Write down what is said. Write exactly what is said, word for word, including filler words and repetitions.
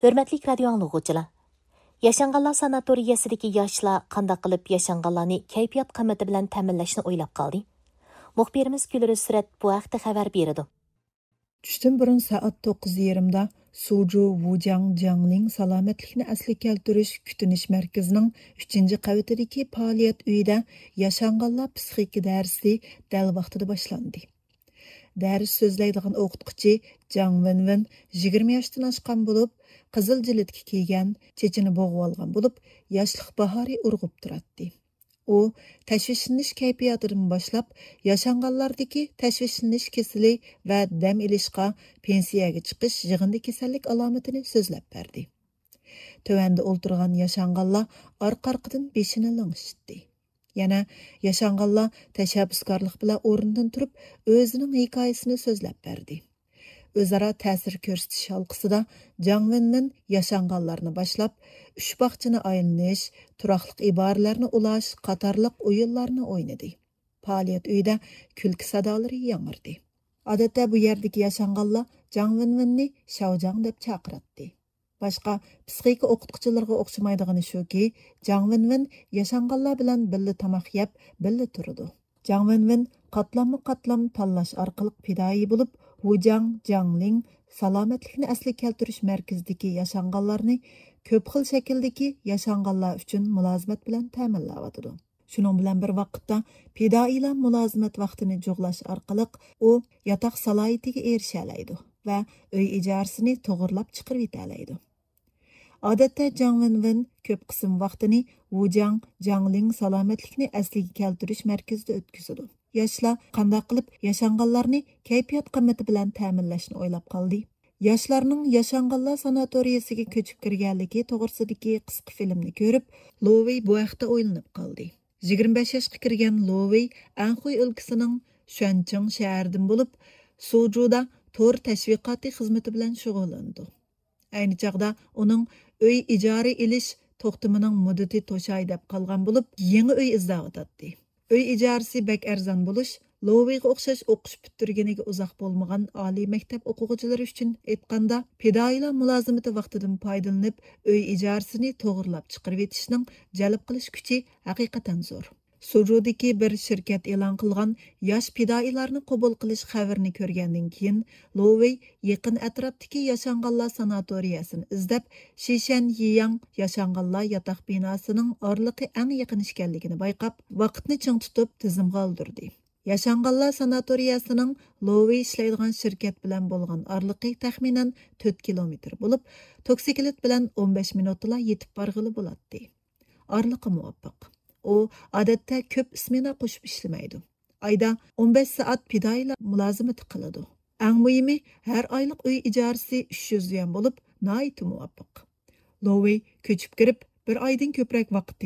ھۆرمەتلىك رادىيو ئاڭلىغۇچىلار! ياشانغانلار ساناتورىيەسىدىكى ياشلار قانداق قىلىپ ياشانغانلارنى كەيپىيات قىممىتى بىلەن تەمىنلەشنى ئويلاپ قالدى؟ مۇخبىرىمىز گۈلرىز سۈرەت بۇ ھەقتە خەۋەر بېرىدۇ. چۈشتىن بۇرۇن سائەت توققۇز يېرىمدا سۇجۇ ۋۇجياڭ جياڭلىڭ سالامەتلىكنى ئەسلىگە كەلتۈرۈش كۈتۈنۈش مەركىزىنىڭ ئۈچىنچى قەۋىتىدىكى پائالىيەت ئۆيىدە ياشانغانلار پسىخىكا دەرسى دەل ۋاقتىدا باشلاندى. دەرس سۆزلەيدىغان ئوقۇتقۇچى جاڭ ۋېنۋېن يىگىرمە ياشتىن ئاشقان بولۇپ، قىزىل جىلىتكە كىيگەن، چېچىنى بوغۇۋالغان بولۇپ، ياشلىق باھارى ئۇرغۇپ تۇراتتى. ئۇ تەشۋىشلىنىش كەيپىياتىدىن باشلاپ، ياشانغانلاردىكى تەشۋىشلىنىش كېسىلى ۋە دەم ئېلىشقا، پېنسىيەگە چىقىش يىغىندى كېسەللىك ئالامىتىنى سۆزلەپ بەردى. تۆۋەندە ئولتۇرغان ياشانغانلار ئارقا-ئارقىدىن بېشىنى لىڭشىتتى. يەنە ياشانغانلار تەشەببۇسكارلىق بىلەن ئورنىدىن تۇرۇپ، ئۆزىنىڭ ھېكايىسىنى سۆزلەپ بەردى. ئۆزئارا تەسىر كۆرسىتىش ھالقىسىدا جاڭ ۋېنۋېن ياشانغانلارنى باشلاپ، ئۈچ باغچىنى ئايلىنىش، تۇراقلىق ئىبارىلەرنى ئۇلاش قاتارلىق ئويۇنلارنى ئوينىدى. پائالىيەت ئۆيىدە كۈلكە سادالىرى ياڭرىدى. ئادەتتە بۇ يەردىكى ياشانغانلار جاڭ ۋېنۋېننى شاۋجاڭ دەپ چاقىراتتى. باشقا پسىخىكا ئوقۇتقۇچىلىرىغا ئوخشىمايدىغىنى شۇكى، جاڭ ۋېنۋېن ياشانغانلار بىلەن بىللە تاماق يەپ، بىللە تۇرىدۇ. جاڭ ۋېنۋېن قاتلاممۇ قاتلام تاللاش ئارقىلىق پىدائىي بولۇپ، ۋۇجياڭ جياڭلىڭ سالامەتلىكنى ئەسلىگە كەلتۈرۈش مەركىزىدىكى ياشانغانلارنى كۆپ خىل شەكىلدىكى ياشانغانلار ئۈچۈن مۇلازىمەت بىلەن تەمىنلەۋاتىدۇ. شۇنىڭ بىلەن بىر ۋاقىتتا، پىدائىيلار مۇلازىمەت ۋاقتىنى جۇغلاش ئارقىلىق، ئۇ ياتاق سالاھىيىتىگە ئېرىشەلەيدۇ ۋە ئۆي ئىجارىسىنى توغرىلاپ چىقىرىۋېتەلەيدۇ. ئادەتتە جاڭ ۋېنۋېن كۆپ قىسىم ۋاقتىنى ۋۇجياڭ جياڭلىڭ سالامەتلىكنى ئەسلىگە كەلتۈرۈش مەركىزىدە ئۆتكۈزىدۇ. ياشلار قانداق قىلىپ ياشانغانلارنى كەيپىيات قىممىتى بىلەن تەمىنلەشنى ئويلاپ قالدى. ياشلارنىڭ ياشانغانلار ساناتورىيەسىگە كۆچۈپ كىرگەنلىكى توغرىسىدىكى قىسقا فىلىمنى كۆرۈپ، لوۋېي بۇ ھەقتە ئويلىنىپ قالدى. يىگىرمە بەش ياشقا كىرگەن لوۋېي ئەنخۇي ئۆلكىسىنىڭ شۈەنچىڭ شەھىرىدىن بولۇپ، سۇجۇدا تور تەشۋىقاتى خىزمىتى بىلەن شۇغۇللىنىدۇ. ئەينى چاغدا ئۇنىڭ ئۆي ئىجارە ئېلىش توختىمىنىڭ مۇددىتى توشاي دەپ قالغان بولۇپ، يېڭى ئۆي ئىزدەۋاتاتتى. ئۆي ئىجارىسى بەك ئەرزان بولۇش، لوۋېيغا ئوخشاش ئوقۇش پۈتتۈرگىنىگە ئۇزاق بولمىغان ئالىي مەكتەپ ئوقۇغۇچىلىرى ئۈچۈن ئېيتقاندا، پىدائىيلار مۇلازىمىتى ۋاقتىدىن پايدىلىنىپ، ئۆي ئىجارىسىنى توغرىلاپ چىقىرىۋېتىشنىڭ جەلپ قىلىش كۈچى ھەقىقەتەن زور. سۇجۇدىكى بىر شىركەت ئېلان قىلغان ياش پىدائىيلارنى قوبۇل قىلىش خەۋىرىنى كۆرگەندىن كېيىن، لوۋېي يېقىن ئەتراپتىكى ياشانغانلار ساناتورىيەسىنى ئىزدەپ، شىشەن يىياڭ ياشانغانلار ياتاق بىناسىنىڭ ئارىلىقى ئەڭ يېقىن ئىكەنلىكىنى بايقاپ، ۋاقىتنى چىڭ تۇتۇپ تىزىمغا ئالدۇردى. ياشانغانلار ساناتورىيەسىنىڭ لوۋېي ئىشلەيدىغان شىركەت بىلەن بولغان ئارىلىقى تەخمىنەن تۆت كىلومېتىر بولۇپ، توكسىكلىت بىلەن ئون بەش مىنۇتتىلا يېتىپ بارغىلى بولاتتى. ئارىلىقى مۇۋاپىق. ئۇ ئادەتتە كۆپ سمېنا قوشۇپ ئىشلىمەيدۇ. ئايدا ئون بەش سائەت پىدائىيلار مۇلازىمىتى قىلىدۇ. ئەڭ مۇھىمى، ھەر ئايلىق ئۆي ئىجارىسى ئۈچ يۈز يۈەن بولۇپ، ناھايىتى مۇۋاپىق. لوۋېي كۆچۈپ كىرىپ، بىر ئايدىن كۆپرەك ۋاقىت